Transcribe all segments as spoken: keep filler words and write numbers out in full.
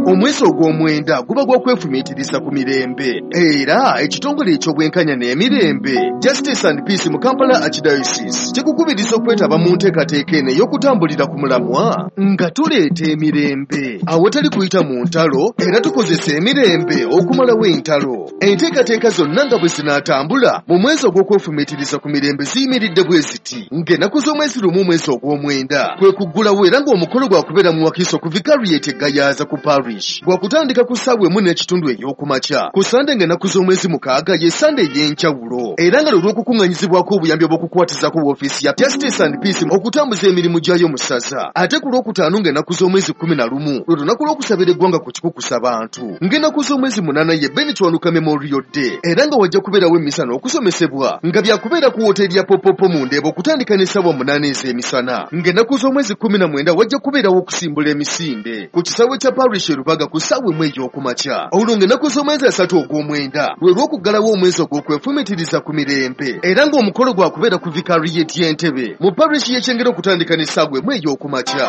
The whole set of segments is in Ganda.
Omwezi ogw'omwenda guba gwa kwefumiitiriza ku mirembe, era ekitongole eky'obwenkanya n'emirembe Justice and Peace mu Kampala Archdiocese kikukubiriza okwetaba mu nteekateeka eno ey'okutambulira ku mulamwa nga tuleeta emirembe awatali kuyita mu ntalo, era tukozesa emirembe okumalawo entalo. Enteekateeka zonna nga bwe zinaatambula mu mwezi ogw'okwefumiitiriza ku mirembe ziyimiridde bwe ziti: ng'ennaku z'omwezi lumu omwezi ogw'omwenda kwe kuggulawo, era ng'omukolo gwakubeera mu Wakiso ku Vicariate Gayaza ku Parish, gwakutandika ku ssaawa emu n'ekitundu ey'okumakya. Ku Sande ng'ennaku z'omwezi mukaaga ye Sande ey'enjawulo, era nga lwe lw'okukuŋŋaanyizibwako obuyambi obw'okukwatizaako woofiisi ya Justice and Peace okutambuza emirimu gyayo mu ssaza. Ate ku Lwokutaano ng'ennaku z'omwezi kkumi na lumu lwe lunaku lw'okusabira eggwanga ku kikukusa bantu. Ng'ennaku z'omwezi munaana ye Ben Kiwanuka Memorial Day, era nga wajja kubeerawo emmisa n'okusomesebwa nga byakubeera ku wooteeri ya Popopo mu Ndeeba okutandika n'essaawa munaana ez'emisana. Ng'ennaku z'omwezi kkumi na mwenda wajja kubeerawo okusimbula emisinde ku kisaawe kya Parish e Rubaga ku ssaawa emu ey'okumakya. Olwo ng'ennaku z'omwezi asatu ogw'omwenda lwe lw'okuggalawo omwezi ogw'okwefumiitiriza ku mirembe, era ng'omukolo gwakubeera ku Vicariate y'Entebe mu Parish y'e Kyengera okutandika n'essaawa emu ey'okumakya.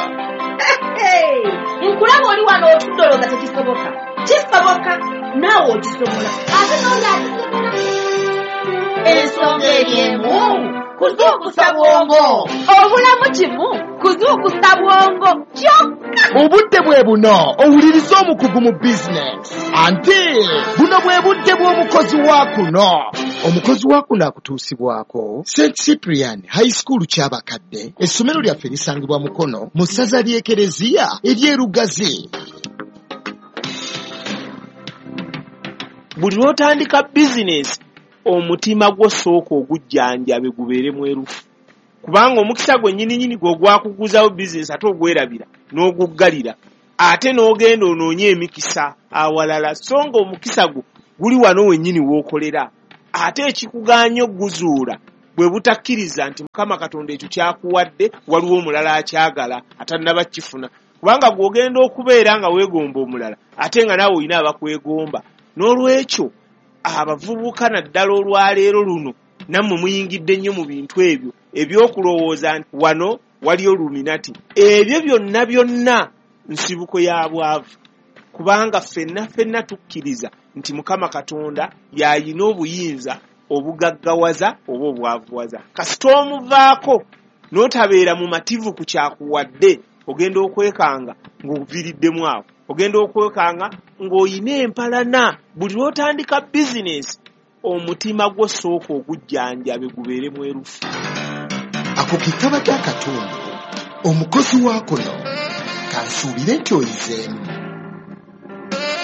Nkulaba oli wano otudde olowooza tekisoboka. Kisoboka, naawe okisobola, ate n'oli akisobola. Ensonga eri emu, kuzuukusa bwongo. Obulamu kimu, kuzuukusa bwongo kyokka. Obudde bwe buno owuliriza omukugu mu bizinesi, anti buno bwe budde bw'omukozi wa kuno. Omukozi wa kuno akutuusibwako Saint Cyprian High School Kyabakadde. Essomero lyaffe lisangibwa Mukono mu ssaza ly'Ekereziya ery'e Lugazi. Buli lw'otandika bizinesi, omutima gwo sooka ogujjanjabe gubeere mwerufu, kubanga omukisa gwe nnyininyini gwe ogwakuguzawo bizinesi ate ogwerabira n'oguggalira, ate n'ogenda onoonye emikisa awalala, so nga omukisa gwo guli wano wennyini w'okolera. Ate ekikugaanya okuguzuula bwe butakkiriza nti Mukama Katonda ekyo kyakuwadde waliwo omulala akyagala atannaba kukifuna, kubanga gw'ogenda okubeera nga weegomba omulala ate nga naawe olina abakwegomba. N'olwekyo abavubuka naddala olwaleero luno nammwe muyingidde nnyo mu bintu ebyo ebyokulowooza nti wano waliyo Illuminati. Ebyo byonna byonna nsibuko ya bwavu, kubanga ffenna ffenna tukkiriza nti Mukama Katonda y'ayina obuyinza obugaggawaza oba obwavuwaza. Kasita omuvaako n'otabeera mumativu ku kyakuwadde, ogenda okwekanga ng'oviiriddemu awo, ogenda okwekanga ng'oyina empalana. Buli lw'otandika bizinesi, omutima gwo sooka ogujjanjabe gubeere mwerufu. Ako ke kabadde akatundu omukozi wa kuno, kansuubire nti oyizeemu.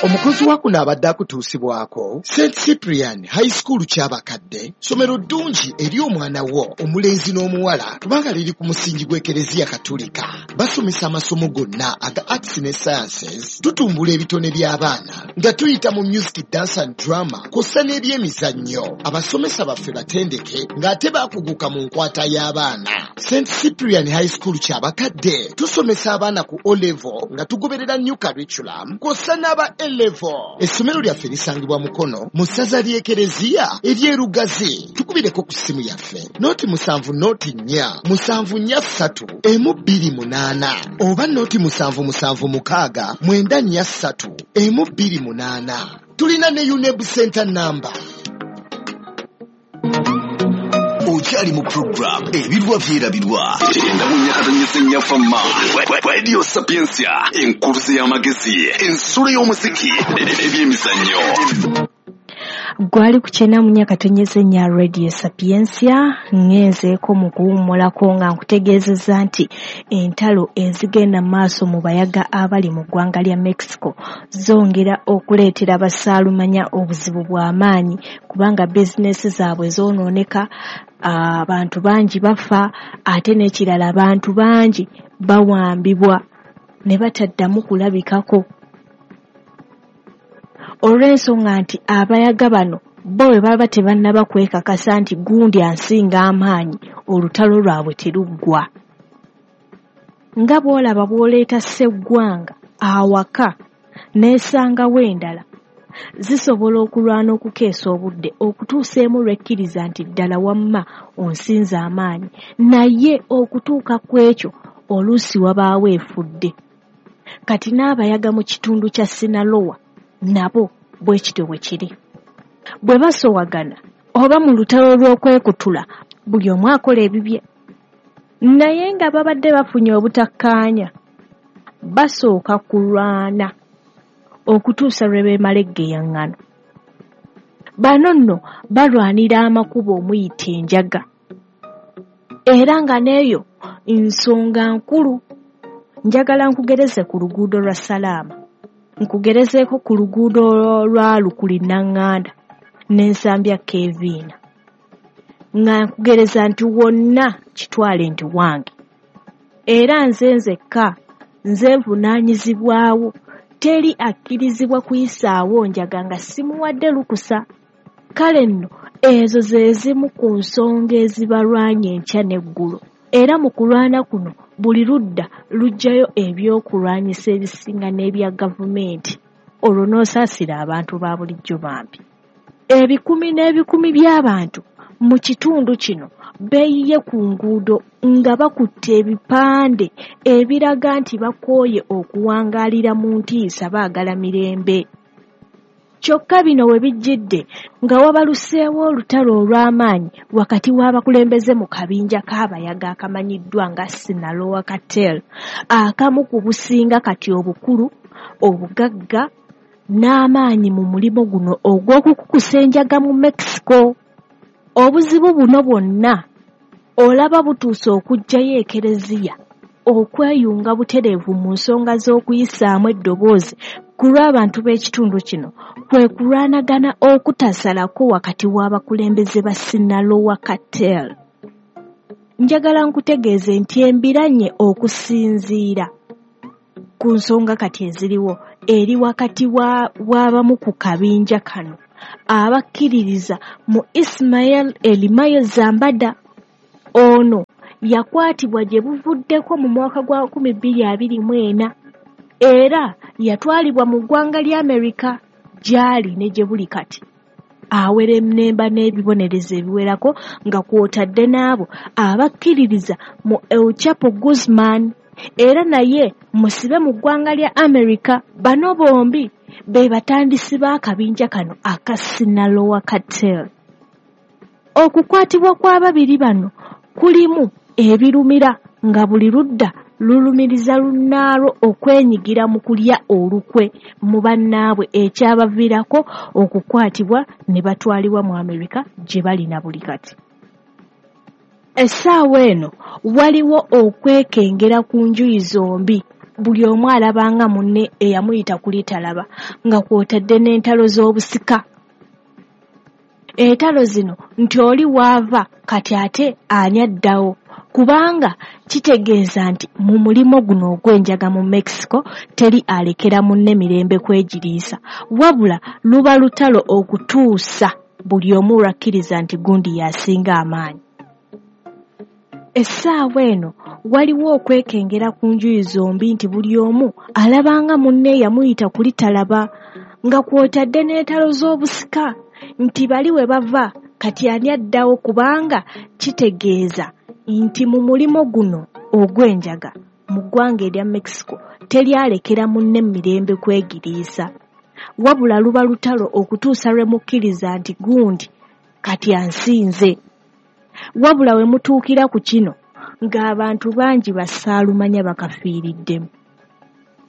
Omukozi wa kuno abadde akutuusibwako Saint Cyprian High School Kyabakadde, ssomero ddungi eri omwana wo omulenzi n'omuwala, kubanga liri ku musingi gw'Ekereziya Katolika. Basomesa amasomo gonna aga arts ne sciences, tutumbula ebitone by'abaana nga tuyita mu music, dance and drama kw'ossa n'ebyemizannyo. Abasomesa baffe batendeke ng'ate baakuguka mu nkwata y'abaana. Saint Cyprian High School Kyabakadde tusomesa abaana ku O level nga tugoberera new curriculum kw'ossa n'aba A level. Essomero lyaffe lisangibwa Mukono mu ssaza ly'Ekereziya ery'e Lugazi. Tukubireko ku ssimu yaffe noti musanvu noti nnya musanvu nnya ssatu emu bbiri munaana oba noti musanvu musanvu mukaaga mwenda nnya ssatu emu bbiri munaana. Tulina ne UNEB Center number. Okyali mu program Ebirwa Byerabirwa endamunyakatonyese Radio Sapientia, enkuluze y'amagezi, ensulo y'omuziki n'ebyemizannyo. Gwali ku kyenda mu nyakatonyeze nya Radio Sapientia. Ngenzeeko mu kuwummulako nga nkutegeezezza nti entalo ezigenda mu maaso mu bayaga abali mu ggwanga lya Mexico zongera okuleetera basaalumanya obuzibu bw'amaanyi, kubanga bizinesi zaabwe zoonooneka, abantu bangi bafa, ate n'ekirala abantu bangi bawambibwa ne bataddamu kulabikako, olw'ensonga nti abayaga bano bo bwe baba tebannaba kwekakasa nti gundi ansinga amaanyi, olutalo lwabwe teruggwa. Nga bw'olaba bw'oleeta sseggwanga awaka n'esangawo endala, zisobola okulwana okukeesa obudde okutuusa emu lw'ekkiriza nti ddala wamma onsinza amaanyi, naye okutuuka ku ekyo oluusi wabaawo efudde. Kati n'abayaga mu kitundu kya Sinaloa nabo bwe kityo bwe kiri. Bwe basowagana oba mu lutalo lw'okwekutula, buli omu akola ebibye. Naye nga babadde bafunye obutakkaanya, basooka kulwana okutuusa lwe beemala eggeyaŋŋano. Bano nno balwanira amakubo omuyita enjaga, era nga n'eyo nsonga nkulu. Njagala nkugereze ku luguudo lwa Salaama, nkugerezeeko ku luguudo lwa Lukuli Naŋŋanda n'Ensambya Keviina, nga nkugereza nti wonna kitwale nti wange, era nze nzekka nze nvunaanyizibwawo. Teri akkirizibwa kuyisaawo njaga nga simuwadde lukusa. Kale nno ezo ze zimu ku nsonga ezibalwanya enkya n'eggulo. Era mu kulwana kuno buli ludda luggyayo ebyokulwanyisa ebisinga n'ebya gavumenti, olwo n'osaasira abantu ba bulijjo bambi. Ebikumi n'ebikumi by'abantu mu kitundu kino beeyiye ku nguudo nga bakutte ebipande ebiraga nti bakooye okuwangaalira mu ntiisa, baagala mirembe. Kyokka bino we bijjidde nga wabaluseewo olutalo olw'amaanyi wakati w'abakulembeze mu kabinja k'abayaga akamanyiddwa nga Sinaloa Cartel, akamu ku businga kati obukulu, obugagga n'amaanyi mu mulimo guno ogw'okukukusa enjaga mu Mexico. Obuzibu buno bwonna olaba butuuse okuggyayo Ekereziya okweyunga butereevu mu nsonga z'okuyisaamu eddoboozi ku lw'abantu b'ekitundu kino, kwe kulwanagana okutasalako wakati w'abakulembeze ba Sinaloa Cartel. Njagala nkutegeeze nti embiranye okusinziira ku nsonga kati eziriwo eri wakati w'abamu ku kabinja kano abakkiririza mu Ismael Elimayo Zambada. Ono yakwatibwa gye buvuddeko mu mwaka gwa nkumi bbiri abiri mu ena era yatwalibwa mu ggwanga lya Amerika gy'ali ne gye buli kati. Awerennemba n'ebibonerezo ebiwerako nga kw'otadde n'abo abakkiririza mu El Chapo Guzman, era naye musibe mu ggwanga lya Amerika. Bano bombi be batandisi b'akabinja kano aka Sinaloa Cartel. Okukwatibwa kw'ababiri bano kulimu ebirumira nga buli ludda lulumiriza lunnaalwo okwenyigira mu kulya olukwe mu bannaabwe, ekyabaviirako okukwatibwa ne batwalibwa mu Amerika gye bali na buli kati. Essaawa eno waliwo okwekengera ku njuyi zombi, buli omu alabanga munne eyamuyita kuli talaba, nga kw'otadde n'entalo z'obusika. Entalo zino nti oli waava kati ate ani addawo, kubanga kitegeeza nti mu mulimo guno ogw'enjaga mu Mexico teri alekera munne mirembe kwegiriisa, wabula luba lutalo okutuusa buli omu lwakkiriza nti gundi y'asinga amaanyi. Essaawa eno waliwo okwekengera ku njuyi zombi nti buli omu alabanga munne eyamuyita kuli talaba, nga kw'otadde n'entalo z'obusika nti bali we bava kati ani addawo, kubanga kitegeeza nti mu mulimo guno ogw'enjaga mu ggwanga erya Mexico teri alekera munne mirembe kwegiriisa, wabula luba lutalo okutuusa lwe mukkiriza nti gundi kati ansinze. Wabula we mutuukira ku kino ng'abantu bangi bassaalumanya bakafiiriddemu.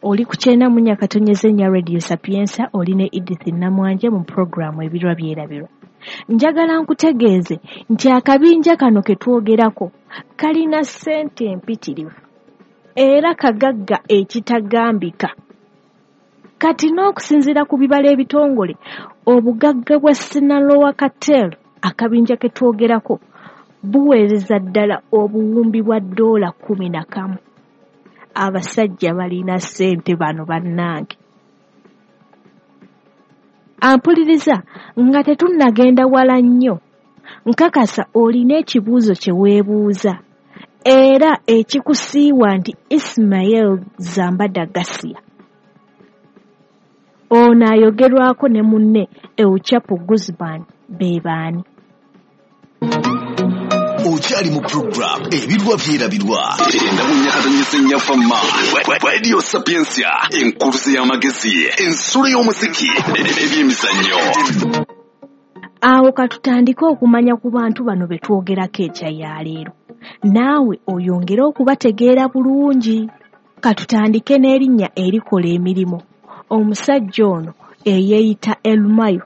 Oli ku kyenda mu nnya katonyeze nnya Radio Sapientia, oli ne Edith Namwanje mu pulogulaamu Ebirwa Byerabirwa. Njagala nkutegeeze nti akabinja kano ke twogerako kalina ssente empitirivu era kagagga ekitagambika. Kati n'okusinziira ku bibala ebitongole, obugagga bwa Sinaloa Cartel, akabinja ke twogerako, buweereza ddala obuwumbi bwa ddoola kkumi na kamu. Abasajja balina ssente bano bannange. Ampuliriza nga tetunnagenda wala nnyo, nkakasa olina ekibuuzo kye weebuuza era ekikusiiwa nti Ismael Zambada Garcia ono ayogerwako ne munne El Chapo Guzman be baani? Okyali mu program Ebirwa Byerabirwa. Endawunyakatonyesa Nnyafamma. Radio Sapientia, enkuluze y'amagezi, ensulo y'omuziki, n'ebyemizannyo. Awo katutandike okumanya ku bantu bano be twogerako enkya ya leero. Naawe oyongere okubategeera bulungi. Katutandike n'erinnya erikola emirimu. Omusajja ono eyeeyita El Mayo.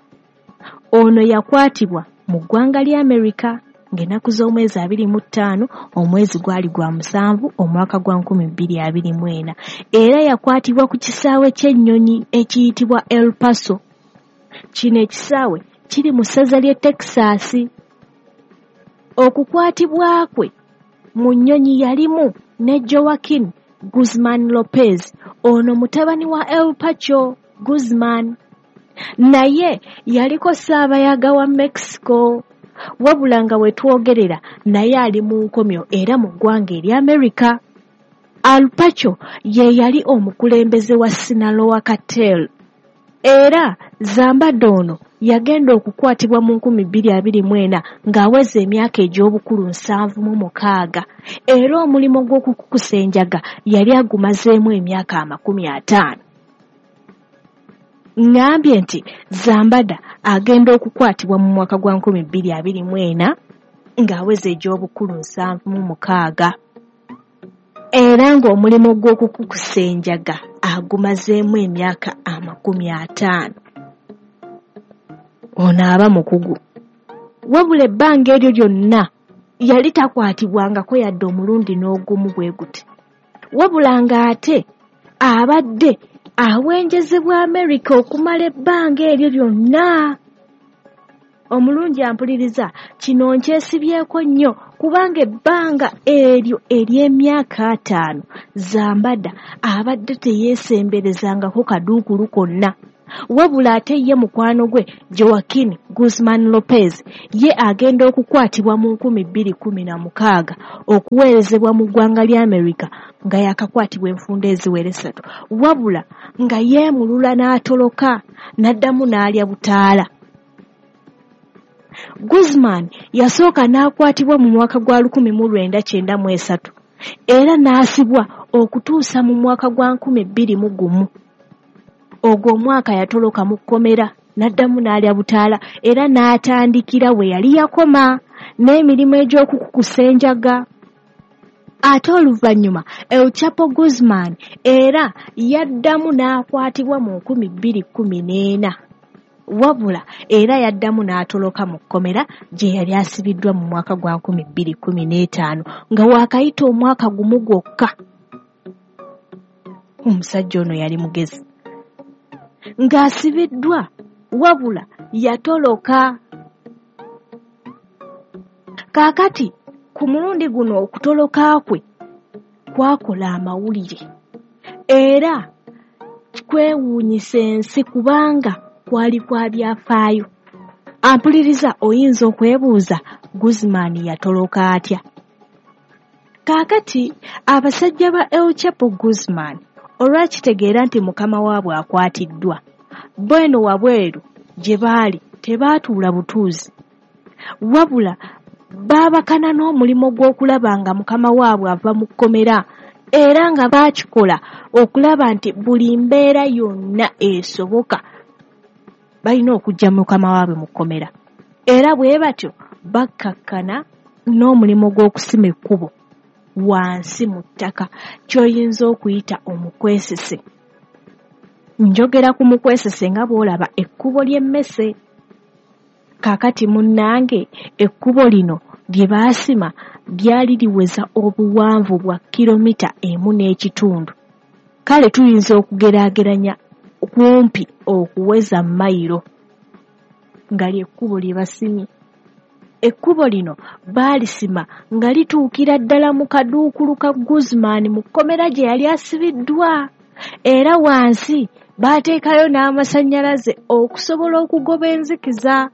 Ono yakwatibwa mu ggwanga lya Amerika ng'ennaku z'omwezi abiri mu ttaano omwezi gwali gwa musanvu omwaka gwa nkumi bbiri abiri mu ena. Era yakwatibwa ku kisaawe ky'ennyonyi ekiyitibwa El Paso. Kino ekisaawe kiri mu ssaza ly'e Texas. Okukwatibwa kwe mu nnyonyi yalimu ne Joaquin Guzman Lopez, ono mutabani wa El Pacho Guzman. Naye yaliko ssaabayaga wa Mexico, wabula nga we twogerera naye ali mu nkomyo era mu ggwanga erya Amerika. El Pacho ye yali omukulembeze wa Sinaloa Cartel. Era Zambada ono yagenda okukwatibwa mu nkumi bbiri abiri mu ena ng'aweza emyaka egy'obukulu nsanvu mu mukaaga. Era omulimu gw'okukukusa enjaga yali agumazeemu emyaka amakumi ataano. Ŋŋambye nti Zambada agenda okukwatibwa mu mwaka gwa nkumi bbiri abiri mu ena ng'aweza egy'obukulu nsanvu mu mukaaga. Era ng'omulimu gw'okukukusa enjaga agumazeemu emyaka amakumi ataano. Ono aba mukugu. Wabula ebbanga eryo lyonna yali takwatibwangako yadde omulundi n'ogumu bwe guti. Wabula ng'ate abadde awenjezebwa Amerika okumala ebbanga eryo lyonna. Omulungi ampuliriza, kino nkyesibyeko nnyo kubanga ebbanga eryo ery'emyaka ataano Zambada abadde teyeesemberezangako kaduukulu konna. Wabula ate ye mukwano gwe Joaquin Guzman Lopez ye agenda okukwatibwa mu nkumi bbiri kkumi na mukaaga okuweerezebwa mu ggwanga lya Amerika nga yakakwatibwa enfunda eziwera essatu, wabula nga yeemulula n'atoloka n'addamu n'alya butaala. Guzman yasooka n'akwatibwa mu mwaka gwa lukumi mu lwenda kyenda mu esatu era n'asibwa okutuusa mu mwaka gwa nkumi bbiri mu gumu. Ogwo omwaka yatoloka mu kkomera n'addamu n'alya butaala era n'atandikira we yali yakoma n'emirimu egy'okukukusa enjaga. Ate oluvannyuma El Chapo Guzman era yaddamu n'akwatibwa mu nkumi bbiri kkumi n'ena. Wabula era yaddamu n'atoloka mu kkomera gye yali asibiddwa mu mwaka gwa nkumi bbiri kkumi n'etaano nga waakayita omwaka gumu gwokka. Omusajja ono yali mugezi. Ng'asibiddwa wabula yatoloka. Kaakati ku mulundi guno okutoloka kwe kwakola amawulire era kwewuunyisa ensi kubanga kwali kwa byafaayo. Ampuliriza oyinza okwebuuza Guzman yatoloka atya? Kaakati abasajja ba El Chapo Guzman olwakitegeera nti mukama waabwe akwatiddwa, bo eno wabweru gye baali tebaatuula butuuzi, wabula baabakana n'omulimu gw'okulaba nga mukama waabwe ava mu kkomera era nga baakikola okulaba nti buli mbeera yonna esoboka balina okuggya mukama waabwe mu kkomera. Era bwe batyo bakkakkana n'omulimu gw'okusima ekkubo wansi mu ttaka ky'oyinza okuyita omukwesese. Njogera ku mukwesese nga bw'olaba ekkubo ly'emmese. Kaakati munnange ekkubo lino lye baasima lyali liweza obuwanvu bwa kilomita emu n'ekitundu. Kale tuyinza okugeraageranya kumpi okuweza mayiro nga ly'ekkubo lye basimye. Ekkubo lino baalisima nga lituukira ddala mu kaduukulu ka Guzman mu kkomera gye yali asibiddwa. Era wansi baateekayo n'amasannyalaze okusobola okugoba enzikiza.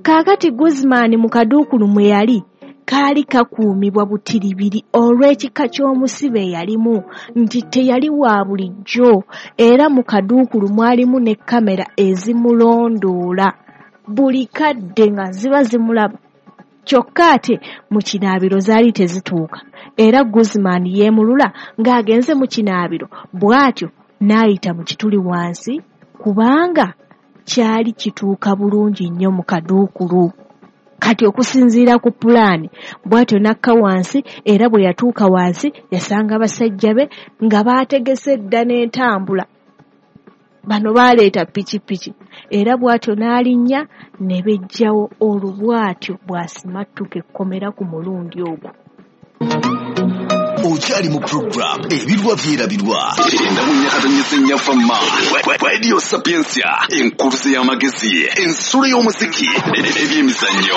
Kaakati Guzman mu kaduukulu mwe yali kaali kakuumibwa butiribiri olw'ekika ky'omusibe eyalimu nti teyali wa bulijjo, era mu kaduukulu mwalimu ne kamera ezimulondoola buli kadde nga ziba zimulaba. Kyokka ate mu kinaabiro zaali tezituuka, era Guzman yeemulula ng'agenze mu kinaabiro, bw'atyo n'ayita mu kituli wansi kubanga kyali kituuka bulungi nnyo mu kaduukulu. Kati okusinziira ku pulaani, bw'atyo n'akka wansi, era bwe yatuuka wansi yasanga basajja be nga baategese dda n'entambula. Bano baaleeta pikipiki, era bw'atyo n'alinnya ne beggyawo olwo bw'atyo bw'asimattuka ekkomera ku mulundi ogwo. Okyali mu program Ebirwa Byerabirwa endamunyakatonyesa ennyafama Radio Sapientia, enkuluze y'amagezi, ensulo y'omuziki n'ebyemizannyo.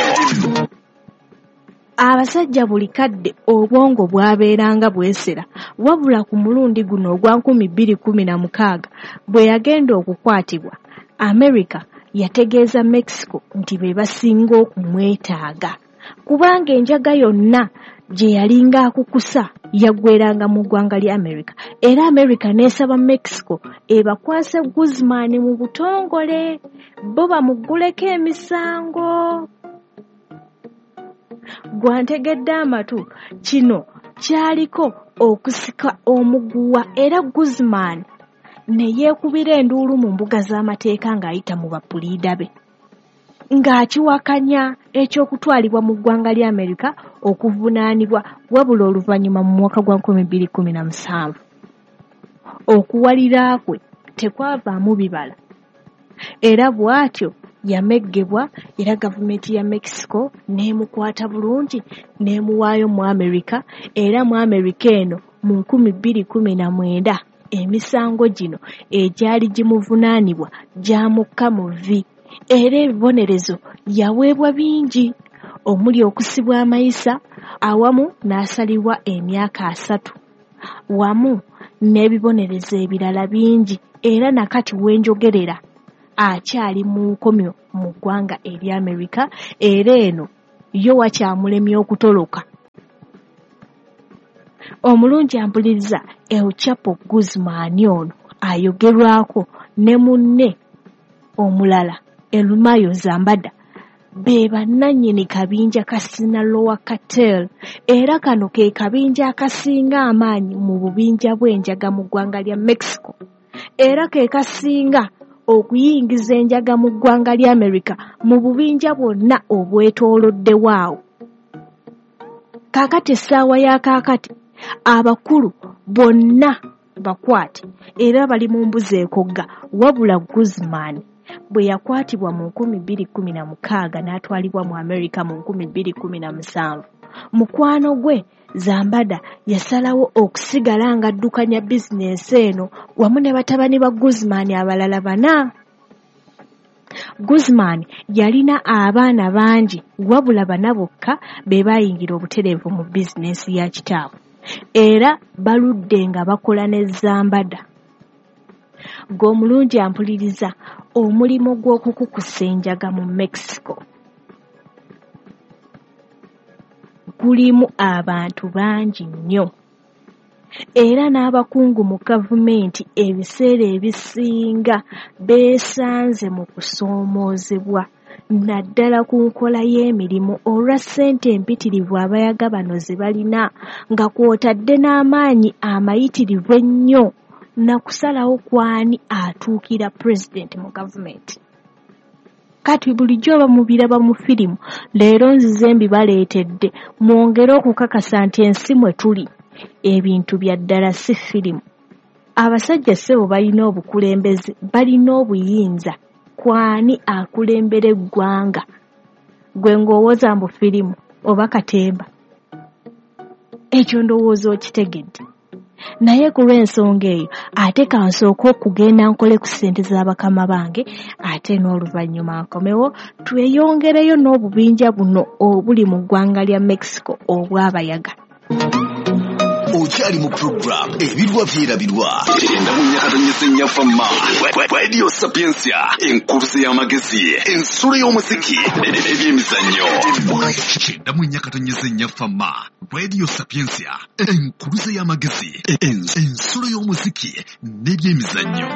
Abasajja buli kadde obwongo bwabeeranga bwesera, wabula ku mulundi guno ogwa nkumi bbiri kkumi na mukaaga bwe yagenda okukwatibwa, America yategeeza Mexico nti be basinga okumwetaaga kubanga enjaga yonna gye yalinga akukusa yaggweranga mu ggwanga lya America, era America n'esaba Mexico ebakwase Guzman mu butongole bo bamugguleko emisango. Gwantegedde amatu, kino kyaliko okusika omuguwa, era Guzman ne yeekubira enduulu mu mbuga z'amateeka ng'ayita mu bapuliida be, ng'akiwakanya eky'okutwalibwa mu ggwanga lya Amerika okuvunaanibwa, wabula oluvannyuma mu mwaka gwa nkumi bbiri kkumi na musanvu okuwalira kwe tekwavaamu bibala, era bw'atyo yameggebwa, era gavumenti ya Mexico n'emukwata bulungi n'emuwaayo mu Amerika, era mu Amerika eno mu nkumi bbiri kkumi na mwenda emisango gino egyali gimuvunaanibwa gyamukka mu vvi, era ebibonerezo yaweebwa bingi omuli okusibwa amayisa awamu n'asalibwa emyaka asatu wamu n'ebibonerezo ebirala bingi, era nakati wenjogerera akyali mu nkomyo mu ggwanga erya Amerika, era eno yo wakyamulemye okutoloka. Omulungi ampuliriza, El Chapo Guzman ono ayogerwako ne munne omulala El Mayo Zambada be bannannyini kabinja ka Sinaloa Cartel, era kano ke kabinja akasinga amaanyi mu bubinja bw'enjaga mu ggwanga lya Mexico, era ke kasinga okuyingiza enjaga mu ggwanga lya Amerika mu bubinja bwonna obwetooloddewo awo. Kaakati essaawa ya kaakati abakulu bonna bakwate era bali mu mbuzi ekogga, wabula Guzman bwe yakwatibwa mu nkumi bbiri kkumi na mukaaga n'atwalibwa mu Amerika mu nkumi bbiri kkumi na musanvu, mukwano gwe Zambada yasalawo okusigala ng'addukanya bizinensi eno wamu ne batabani ba Guzman abalala bana. Guzman yalina abaana bangi, wabula bana bokka be baayingira obutereevu mu bizinensi ya kitaabwe, era baludde nga bakola ne Zambada. G'omulungi ampuliriza, omulimu gw'okukukusa enjaga mu Mexico gulimu abantu bangi nnyo, era n'abakungu mu gavumenti ebiseera ebisinga beesanze mu kusoomoozebwa naddala ku nkola y'emirimu olwa ssente empitirivu abayaga bano ze balina, nga kw'otadde n'amaanyi amayitirivu ennyo na kusalawo kw'ani atuukira pulezidenti mu gavumenti. Kati bulijjo oba mubiraba mu firimu, leero nzize mbibaleetedde mwongere okukakasa nti ensi mwe tuli ebintu bya ddala si firimu. Abasajja ssebo balina obukulembeze, balina obuyinza kw'ani akulembera eggwanga. Gwe ng'owoza mbu firimu oba katemba, ekyo ndowooza okitegedde. Naye ku lw'ensonga eyo ate kansooke okugenda nkole ku ssente z'abakama bange, ate n'oluvannyuma nkomewo tweyongereyo n'obubinja buno obuli mu ggwanga lya Mexico obw'abayaga. Okyali mu program Ebirwa Byerabirwa endamunyakatonyesa ennyafama Radio Sapientia, enkuluze y'amagezi, ensulo y'omuziki n'ebyemizannyo. Endamunyakatonyesa ennyafama Radio Sapientia, enkuluze y'amagezi, ensulo y'omuziki n'ebyemizannyo.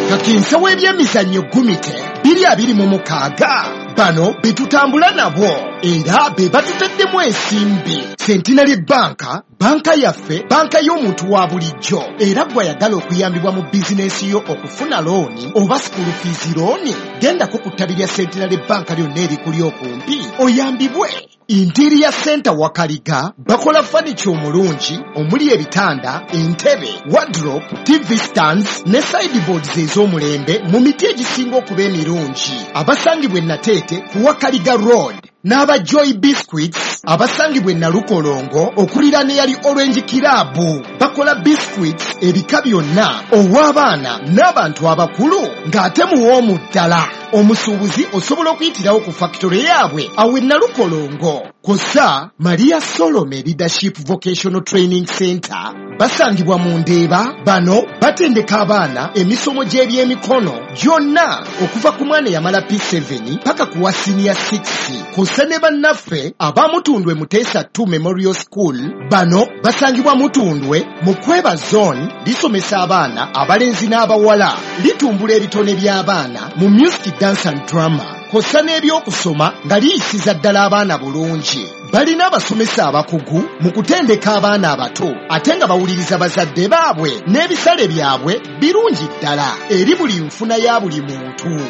Kakinsa w'ebyemizannyo gumite biri abiri mu mukaaga bano betutambula nabo Era be batutaddemu ensimbi. Centenary Bank, banka yaffe, banka y'omuntu wa bulijjo. Era gw'ayagala okuyambibwa mu bizinensi yo okufuna looni oba school fees looni, gendako ku ttabi lya Centenary Bank lyonna erikuli okumpi oyambibwe. Interior Center Wakaliga bakola furniture omulungi omuli ebitanda, entebe, wardrobe, T V stands ne sideboards ez'omulembe mu miti egisinga okuba emirungi. Abasangibwa e Nateete ku Wakaliga Road n'aba Joy Biscuits abasangibwa e Nalukolongo okuliraana eyali Orange Club. Bakola biscuits ebika byonna ow'abaana n'abantu abakulu ng'ate muwoomu ddala. Omusuubuzi osobola okuyitirawo ku factory yaabwe awo e Nalukolongo. Kw'ossa Maria Solome Leadership Vocational Training Center basangibwa mu Ndeeba. Bano batendeka abaana emisomo gy'ebyemikono gyonna okuva ku mwana eyamala P seven paka ku wa senior six. Kw'ossa ne bannaffe aba Mutundwe Muteesa two Memorial School. Bano basangibwa Mutundwe mu Kweba Zone. Lisomesa abaana abalenzi n'abawala, litumbula ebitone by'abaana mu music, dance and drama, kw'ossa n'ebyokusoma nga liyisiza ddala abaana bulungi. Balina abasomesa abakugu mu kutendeka abaana abato ate nga bawuliriza bazadde baabwe, n'ebisale byabwe birungi ddala eri buli nfuna ya buli muntu.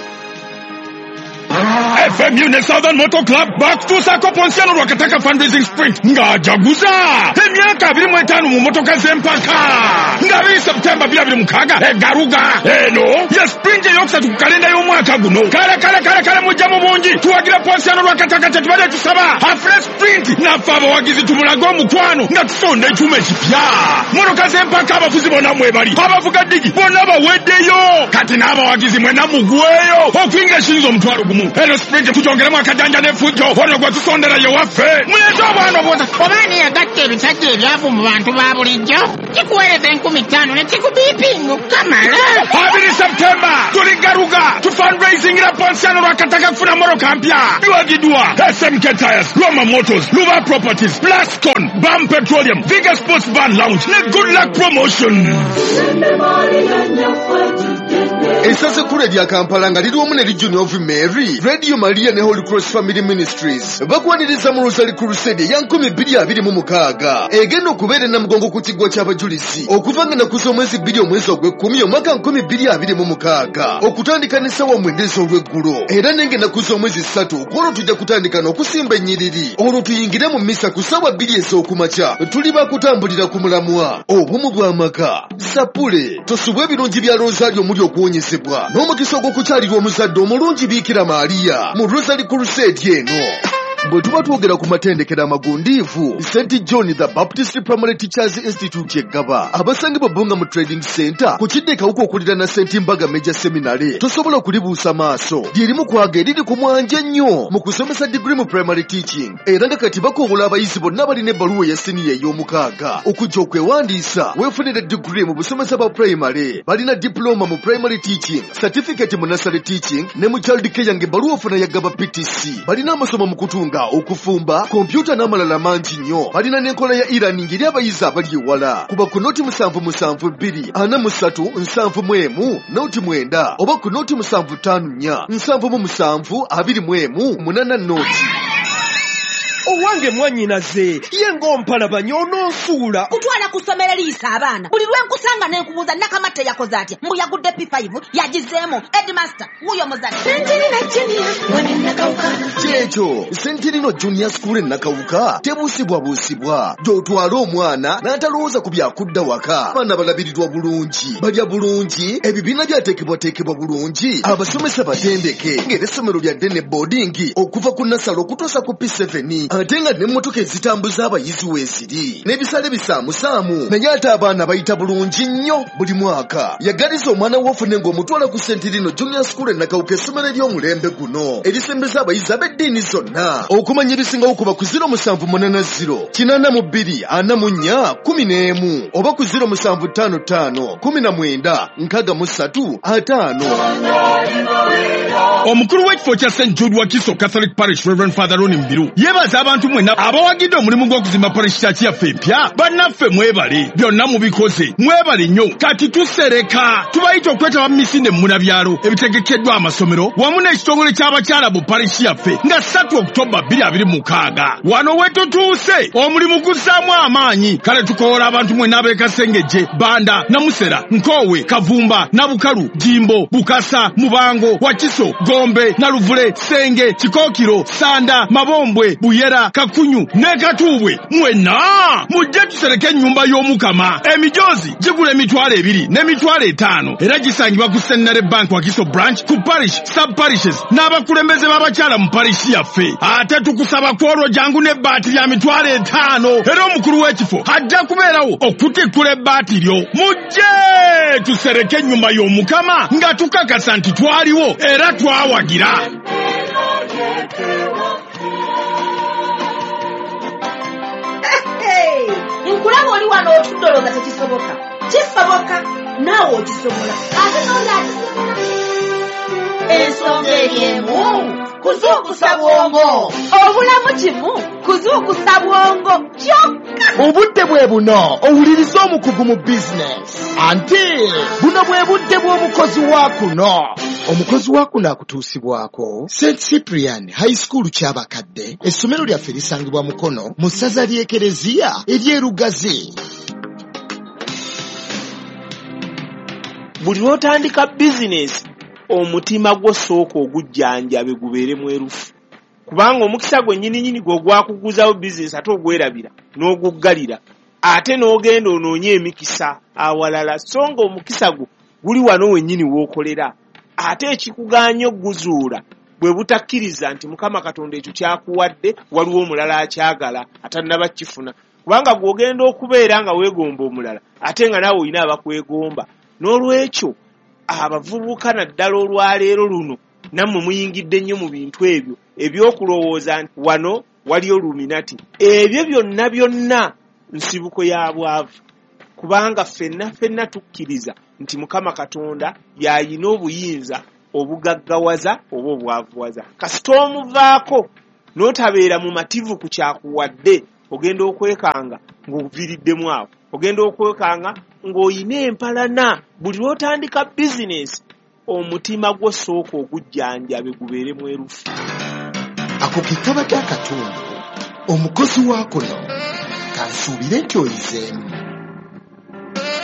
F M U ne Southern Motor Club bakutuusaako Ponsiano Lwakataka fundraising sprint ng'ajaguza emyaka abiri mu etaano mu motoka z'empaka nga abiri September bibiri abiri mukaaga egaruga. Eno ye sprint eyokusatu ku kalenda y'omwaka guno. Kale kale kale kale mujja mu bungi tuwagira Ponsiano Lwakataka kye tubadde tusaba afune sprint naffe abawagizi tumulage omukwano nga tusonda ekyuma ekipya. Motoka z'empaka abafuzi bonna mwebali, abavuga ddigi bonna baweddeyo, kati n'abawagizi mwenna mugweyo okuyingira eshilingi omutwalo gumu. Eno sprint tujongeremu akajanja n'effujjo ono gwe tusondera ye waffe. Muleete obwana obwota. Oba yagatta ebisajja ebyavu mu bantu ba bulijjo kikuweereza enkumi ttaano ne kikubiipinga okukamala. Abiri September tuli Garuga tu fundraisingira Ponsiano Lwakataka kufuna mmotoka mpya. Biwagiddwa S M K Tires, Roma Motors, Luba Properties, Plascon, Bam Petroleum, Viga Sports Bar Lounge ne Good Luck Promotion. Essaza ekkulu erya Kampala nga liri wamu ne Legion of Mary, Radio Maria ne Holy Cross Family Ministries bakwaniriza mu Rosary Crusade eya nkumi bbiri abiri mu mukaaga egenda okubeera e Namugongo ku kiggwa ky'abajulizi okuva nga ennaku z'omwezi bbiri omwezi ogw'ekkumi omwaka nkumi bbiri abiri mu mukaaga okutandika n'essaawa mwenda ez'olweggulo. Era n'enga ennaku z'omwezi ssatu ku olwo tujja kutandika n'okusimba ennyiriri olwo tuyingire mu mmisa ku ssaawa bbiri ez'okumakya. Tuli bakutambulira ku mulamwa obumu bw'amaka. Sapule tosubwa ebirungi bya Rosario omuli okuwonyezebwa n'omukisa ogw'okukyalirwa omuzadde omulungi Biikira Maria mu Rosary Crusade eno. Bwe tuba twogera ku matendekero amagundiivu, Saint John the Baptist Primary Teachers Institute eggaba abasangibwa Bbunga mu Trading Center ku kidde Kawuka okuliraana Saint Mbaga Major Seminary tosobola kulibuusa maaso. Lyerimu kwaga eriri ku mwanje ennyo mu kusomesa degree mu primary teaching, era nga kati bakowola abayizi bonna balina ebbaluwa eya siniya ey'omukaaga okujja okwewandiisa weefunire degree mu busomesa bwa primary. Balina diploma mu primary teaching, certificate mu nursery teaching ne mu child care ng'ebbaluwa ofuna ya Gaba P T C. Balina amasomo mu kutunga, okufumba, kompyuta n'amalala mangi nnyo. Balina n'enkola ya e-learning eri abayizi abali ewala. Kuba ku noti musanvu musanvu bbiri ana mu ssatu nsanvu mu emu noti mwenda oba ku noti musanvu ttaano nnya nsanvu mu musanvu abiri mu emu munaana noti. Owange mwannyinaze ye ng'ompalabanya ononsuula. Kutwala ku ssomero liyisa abaana. Buli lwe nkusanga ne nkubuuza Nakamatte yakoze atya, mbu yagudde P five yagizeemu. Headmaster wuuyo muzadde. Kyekyo Sentinino Junior School e Nakawuka tebuusibwabuusibwa. Gy'otwala omwana n'atalowooza ku byakudda waka. Abaana balabirirwa bulungi, balya bulungi, ebibiina byateekebwateekebwa bulungi, abasomesa batendeke ng'era essomero lya ddene boarding okuva ku nasale okutuusa ku P seven. Ate nga n'emmotoka ezitambuza abayizi weeziri n'ebisale bisaamusaamu, naye ate abaana bayita bulungi nnyo buli mwaka. Yagaliza omwana wo ofune ng'omutwala ku Sentinino Junior School e Nakawuka, essomero ery'omulembe guno erisembeza abayizi ab'eddiini zonna. Okumanya ebisingawo kuba ku ziro musanvu munaana ziro kinaana mu bbiri ana mu nnya kumi n'emu oba ku ziro musanvu ttaano ttaano kumi na mwenda nkaaga mu ssatu ataano. Omukulu w'ekifo kya Saint Jude Wakiso Catholic Parish, Reverend Father Ronnie Mbiru, yeebaza abantu mwenna abawagidde omulimu gw'okuzimba parish church yaffe empya. Bannaffe mwebale, byonna mubikoze, mwebale nnyo. Kati tusereka, tubayita okwetaba mu misinde munabyalo ebitegekeddwa amasomero wamu n'ekitongole ky'abakyala mu parish yaffe nga ssatu Oktoba bbiri abiri mukaaga. Wano we tutuuse, omulimu guzzaamu amaanyi. Kale tukoola abantu mwenna ab'e Kasengejje, Banda, Namusera, Nkoowe, Kavumba, Nabukalu, Jimbo, Bukasa, Mubango, Wakiso, Gombe, Naluvule, Senge, Kikookiro, Sanda, Mabombwe, Buyera, Kakunyu ne Katuubwe. Mwenna mujje tusereke ennyumba y'Omukama. Emijoozi gigula emitwalo ebiri n'emitwalo etaano era gisangibwa ku Centenary Bank Wakiso Branch, ku parish, sub parishes n'abakulembeze b'abakyala mu parish yaffe. Ate tukusaba kwolwo jangu n'ebbaati lya mitwalo etaano era omukulu w'ekifo ajja kubeerawo okutikkula ebbaati lyo. Mujje tusereke ennyumba y'Omukama nga tukakasa nti twaliwo era twawagira. Nkulaba oli wano otudde olowooza tekisoboka. Kisoboka, naawe okisobola, ate n'oli akisobola. Ensonga eri emu, kuzuukusa bwongo. Obulamu kimu, kuzuukusa bwongo kyokka. Obudde bwe buno owuliriza omukugu mu bizinesi. Anti buno bwe budde bw'omukozi wa kuno. Omukozi wa kuno akutuusibwako Saint Cyprian High School Kyabakadde. Essomero lyaffe lisangibwa Mukono mu ssaza ly'Ekereziya ery'e Lugazi. Buli lw'otandika bizinesi, omutima gwo sooka ogujjanjabe gubeere mwerufu, kubanga omukisa gwe nnyininyini gwe ogwakuguzawo bizinesi ate ogwerabira n'oguggalira, ate n'ogenda onoonye emikisa awalala, so nga omukisa gwo guli wano wennyini w'okolera. Ate ekikugaanya okuguzuula bwe butakkiriza nti Mukama Katonda ekyo kyakuwadde waliwo omulala akyagala atannaba kukifuna, kubanga gw'ogenda okubeera nga weegomba omulala ate nga naawe olina abakwegomba. N'olwekyo abavubuka naddala olwaleero luno nammwe muyingidde nnyo mu bintu ebyo ebyokulowooza nti wano waliyo Illuminati. Ebyo byonna byonna nsibuko ya bwavu, kubanga ffenna ffenna tukkiriza nti Mukama Katonda y'ayina obuyinza obugaggawaza oba obwavuwaza. Kasita omuvaako n'otabeera mumativu ku kyakuwadde, ogenda okwekanga ng'oviiriddemu awo, ogenda okwekanga ng'oyina empalana. Buli lw'otandika bizinesi, omutima gwo sooka ogujjanjabe gubeere mwerufu. Ako ke kabadde akatundu omukozi wa kuno. Kansuubire nti oyizeemu.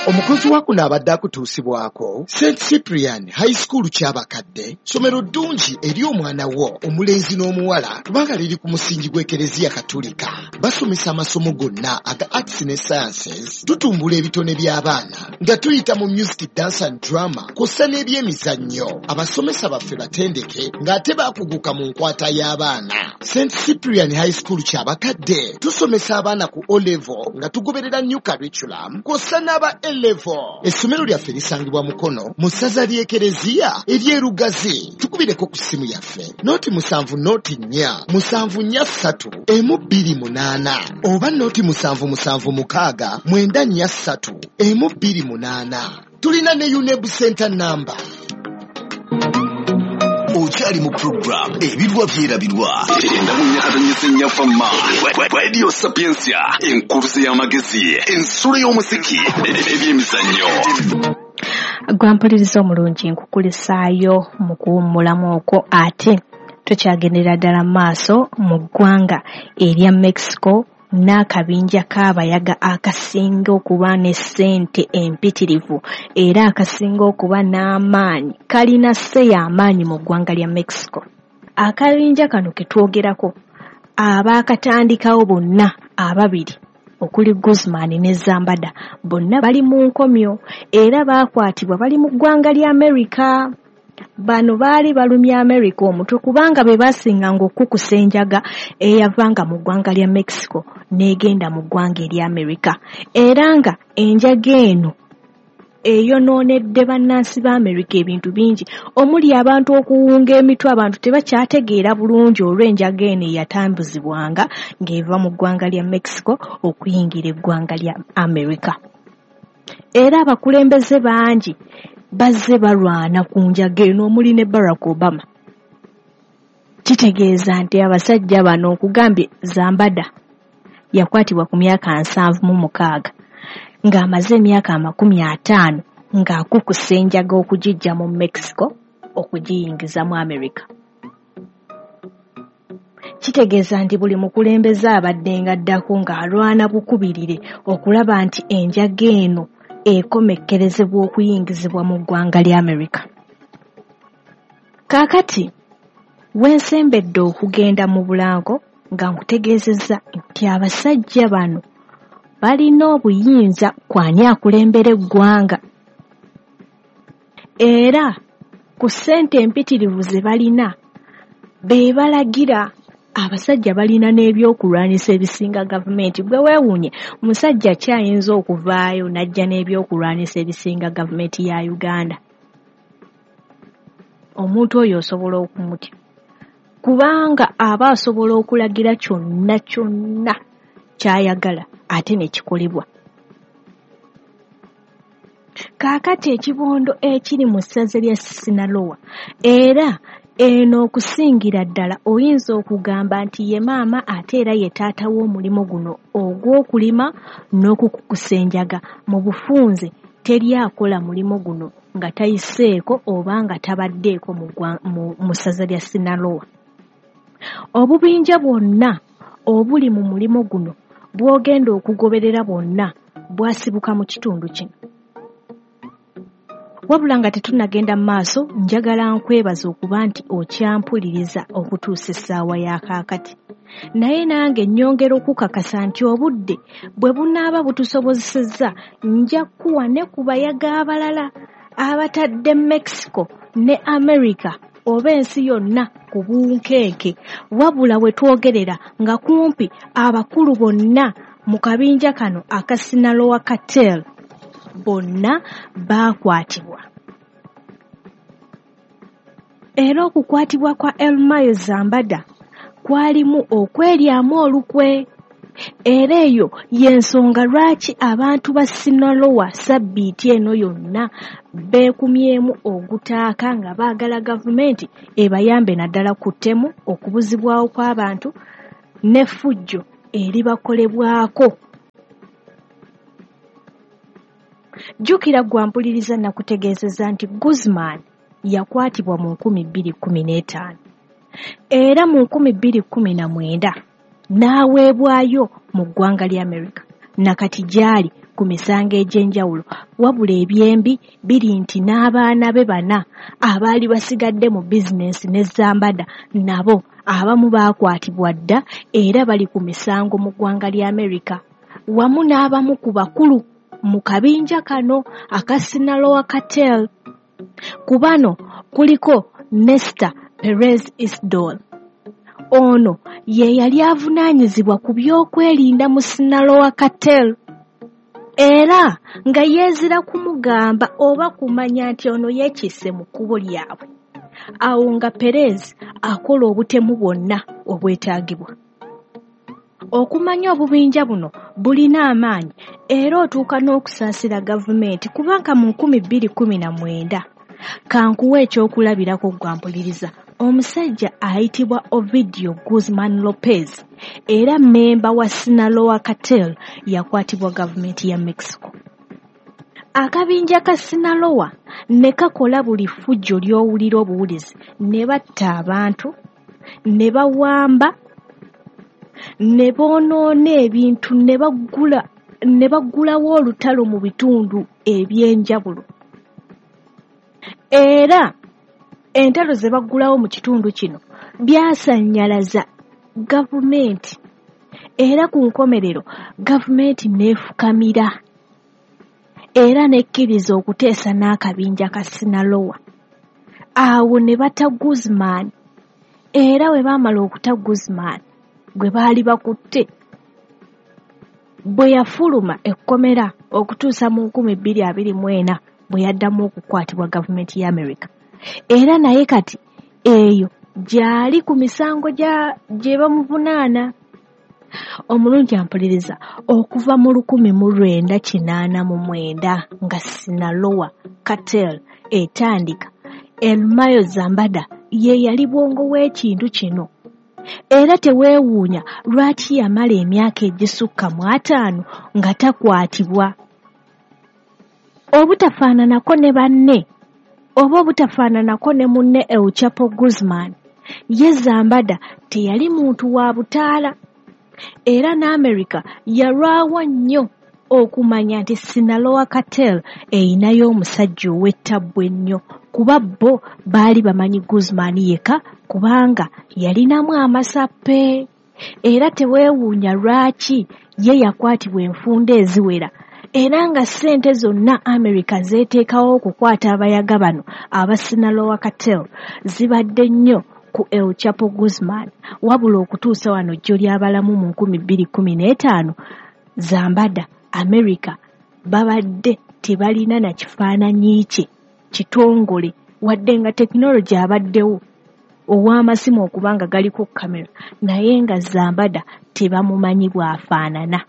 Omukozi wa kuno abadde akutuusibwako Saint Cyprian High School Kyabakadde, ssomero ddungi eri omwana wo omulenzi n'omuwala kubanga liri ku musingi gw'Ekereziya Katolika. Basomesa amasomo gonna aga arts ne sciences, tutumbula ebitone by'abaana nga tuyita mu music, dance and drama kw'ossa n'ebyemizannyo. Abasomesa baffe batendeke ng'ate baakuguka mu nkwata y'abaana. Saint Cyprian High School Kyabakadde tusomesa abaana ku O level nga tugoberera new curriculum kw'ossa n'aba A level. Essomero lyaffe lisangibwa Mukono mu ssaza ly'Ekereziya ery'e Lugazi. Tukubireko ku ssimu yaffe noti musanvu noti nnya musanvu nnya ssatu emu bbiri munaana oba noti musanvu musanvu mukaaga mwenda nnya ssatu emu bbiri munaana. Tulina ne UNEB Center number. Okyali mu program Ebirwa Byerabirwa. Enda mu Nyakatonyese Nnyafama. Radio Sapientia, enkuruze y'amagezi, ensulo y'omuziki, ebyemizannyo. Gwampuliriza omulungi, nkukulisaayo mu kuwummulamu okwo, ate tukyagendera ddala mu maaso mu ggwanga erya Mexico n'akabinja k'abayaga akasinga okuba ne ssente empitirivu era akasinga okuba n'amaanyi, kalina sse y'amaanyi mu ggwanga lya Mexico. Akabinja kano ke twogerako abaakatandikawo bonna ababiri okuli Guzman ne Zambada bonna bali mu nkomyo era baakwatibwa bali mu ggwanga lya America. Bano baali balumya America omutwe kubanga be baasinganga okukusa enjaga eyavanga mu ggwanga lya Mexico n'egenda mu ggwanga erya America, era nga enjaga eno eyonoonedde bannansi ba America ebintu bingi omuli abantu okuwunga emitwe. Abantu tebakyategeera bulungi olw'enjaga eno eyatambuzibwanga ng'eva mu ggwanga lya Mexico okuyingira eggwanga lya America. Era abakulembeze bangi bazze balwana ku njaga eno omuli ne Barack Obama. Kitegeeza nti abasajja bano okugambye Zambada yakwatibwa ku myaka nsanvu mu mukaaga ng'amaze emyaka amakumi ataano ng'akukusa enjaga okugijja mu Mexico okugiyingiza mu America. Kitegeeza nti buli mukulembeze abadde ng'addako ng'alwana bukubirire okulaba nti enjaga eno ekomekkerezebwa okuyingizibwa mu ggwanga lya America. Kaakati wensembedde okugenda mu bulango nga nkutegeezezza nti abasajja bano balina obuyinza kwani akulembera eggwanga, era ku ssente empitirivu ze balina be balagira. Abasajja balina n'ebyokulwanyisa ebisinga gavumenti. Gwe weewuunye musajja ki ayinza okuvaayo n'ajja n'ebyokulwanyisa ebisinga gavumenti ya Uganda? Omuntu oyo osobola okumutya, kubanga aba asobola okulagira kyonna kyonna ky'ayagala ate ne kikolebwa. Kaakati ekibondo ekiri mu ssaza lya Sinaloa, era eno okusingira ddala oyinza okugamba nti ye maama ate era ye taata w'omulimu guno ogw'okulima n'okukukusa enjaga. Mu bufunze teri akola mulimu guno nga tayiseeko oba nga tabaddeeko mu ssaza lya Sinaloa. Obubinja bwonna obuli mu mulimu guno bw'ogenda okugoberera bwonna bwasibuka mu kitundu kino. Wabula nga tetunnagenda mu maaso, njagala nkwebaza okuba nti okyampuliriza okutuusa essaawa ya kaakati. Naye nange nnyongera okukakasa nti obudde bwe bunaaba butusobozesezza nja kuwa ne ku bayaga abalala abatadde Mexico ne America oba ensi yonna ku bunkenke. Wabula we twogerera nga kumpi abakulu bonna mu kabinja kano aka Sinaloa Cartel bonna baakwatibwa. Era okukwatibwa kwa El Mayo Zambada kwalimu okweryamu olukwe, era eyo y'ensonga lwaki abantu ba Sinaloa sabbiiti eno yonna beekumyemu ogutaaka nga baagala gavumenti ebayambe naddala ku ttemu, okubuzibwawo kw'abantu n'effujjo eribakolebwako. Jjukira gwe ampuliriza nakutegeezezza nti Guzman yakwatibwa mu nkumi bbiri kkumi n'etaano era mu nkumi bbiri kkumi na mwenda n'aweebwayo mu ggwanga lya America nakati gy'ali ku misango egy'enjawulo. Wabula ebyembi biri nti n'abaana be bana abaali basigadde mu bizinensi ne Zambada nabo abamu baakwatibwa dda era bali ku misango mu ggwanga lya America, wamu n'abamu ku bakulu mu kabinja kano aka Sinaloa Cartel. Ku bano kuliko Nestor Perez Isdol. Ono ye yali avunaanyizibwa ku by'okwerinda mu Sinaloa Cartel, era nga yeezira kumugamba oba kumanya nti ono yeekisse mu kkubo lyabwe. Awo nga Perez akola obutemu bwonna obwetaagibwa. Okumanya obubinja buno bulina amaanyi era otuuka n'okusaasira gavumenti, kubanga mu nkumi bbiri kkumi na mwenda kankuwa ekyokulabirako gwampuliriza omusajja ayitibwa Ovidio Guzman Lopez era mmemba wa Sinaloa Cartel yakwatibwa gavumenti ya Mexico. Akabinja ka Sinaloa ne kakola buli ffujjo ly'owulira obuwulizi, ne batta abantu, ne bawamba, ne boonoona ebintu, ne baggula ne baggulawo olutalo mu bitundu eby'enjawulo. Era entalo ze baggulawo mu kitundu kino byasannyalaza gavumenti, era ku nkomerero gavumenti n'efukamira era n'ekkiriza okuteesa n'akabinja ka Sinaloa. Awo ne batta Guzman, era bwe baamala okuta Guzman gwe baali bakutte, bwe yafuluma ekkomera okutuusa mu nkumi bbiri abiri mu ena bwe yaddamu okukwatibwa gavumenti ya America. Era naye kati eyo gy'ali ku misango gye bamuvunaana. Omulungi ampuliriza, okuva mu lukumi mu lwenda kinaana mu mwenda nga Sinaloa Cartel etandika, El Mayo Zambada ye yali bwongo w'ekintu kino. Era teweewuunya lwaki yamala emyaka egisukka mu ataano nga takwatibwa. Obutafaananako ne banne oba obutafaananako ne munne El Chapo Guzman, ye Zambada teyali muntu wa butaala. Era n'Amerika yalwawo nnyo okumanya nti Sinaloa Cartel eyinayo omusajja ow'ettabbu ennyo, kuba bo baali bamanyi Guzman yekka kubanga yalinamu amasappe. Era teweewuunya lwaki ye yakwatibwa enfunda eziwera, era nga ssente zonna Amerika zeeteekawo okukwata abayaga bano aba Sinaloa Cartel zibadde nnyo ku El Chapo Guzman. Wabula okutuusa wano jjo ly'abalamu mu nkumi bbiri kkumi n'etaano, Zambada Amerika babadde tebalina na kifaananyi kye kitongole, wadde nga tekinologi abaddewo ow'amasimu okuba nga galiko kamera, naye nga Zambada tebamumanyi bw'afaanana.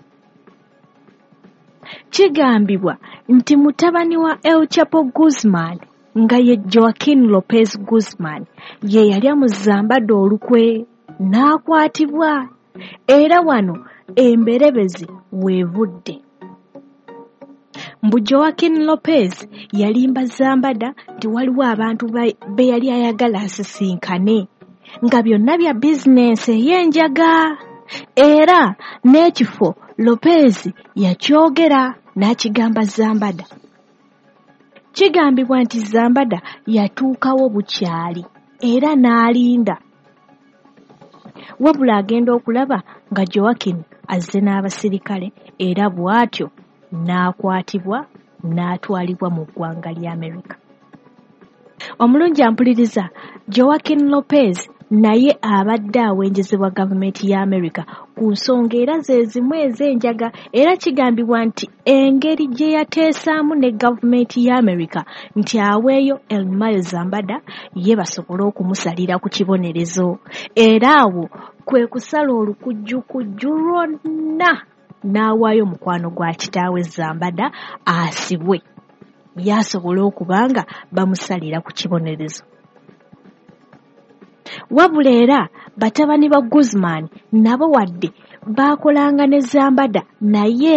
Kigambibwa nti mutabani wa El Chapo Guzman nga ye Joaquin Lopez Guzman ye yalya mu Zambada olukwe n'akwatibwa, era wano emberebezi weevudde. Mbu Joaquin Lopez yalimba Zambada nti waliwo abantu be yali ayagala asisinkane, nga byonna bya bizinensi ey'enjaga. Era n'ekifo Lopez yakyogera n'akigamba Zambada. Kigambibwa nti Zambada yatuukawo bukyali era n'alinda, wabula agenda okulaba nga Joaquin azze n'abasirikale, era bw'atyo n'akwatibwa n'atwalibwa mu ggwanga lya Amerika. Omulungi ampuliriza, Joaquin Lopez naye abadde awenjezebwa gavumenti ya Amerika ku nsonga era ze zimu ez'enjaga, era kigambibwa nti engeri gye yateesaamu ne gavumenti ya Amerika nti aweeyo El Mayo Zambada ye basobole okumusalira ku kibonerezo. Era awo kwe kusala olukujjukujju lwonna n'awaayo mukwano gwa kitaawe Zambada asibwe, yasobole okuba nga bamusalira ku kibonerezo. Wabula era batabani ba Guzman nabo wadde baakolanga ne Zambada, naye